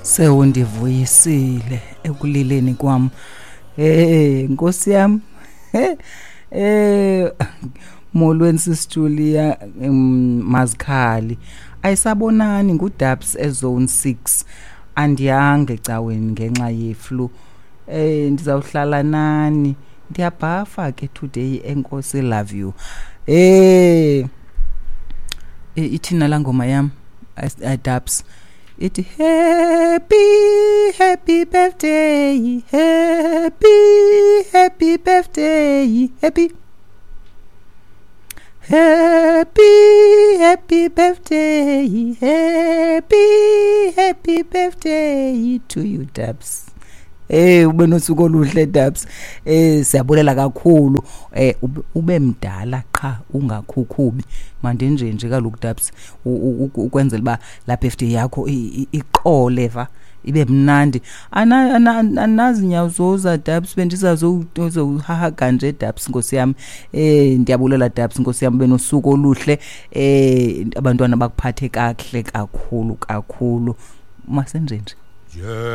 Sewundivuyisile ekulileni kwam. Hey, Nkosi yam. Molweni sisiJulia, Mazikhali. Ayisabonani nguDabs eZone 6. Andiyanga ecaweni ngenxa yeflu. Ndizawuhlala nani. Ndiyabhafa ke today, enkosi, love you. Ithina la ngoma yam, Dabs. Ithi happy, happy birthday, happy, happy birthday, happy, happy, happy birthday, happy, happy birthday to you, Dabs. Ube nosuku oluhle, Dabs. Siyabulela kakhulu. Ube mdala qha ungakhukhubi. Mandinje nje kaloku, Dabs, ukwenzela uba la birthday yakho iqole va, ibe mnandi. Anazi nyawuzoza, Dabs, bendizazohahaga nje, Dabs, nkosi yami. Ndiyabulela, Dabs, nkosi yami, benosuku oluhle. Abantwana bakuphathe kakuhle kakhulu kakhulu. Masenje nje. Yeah.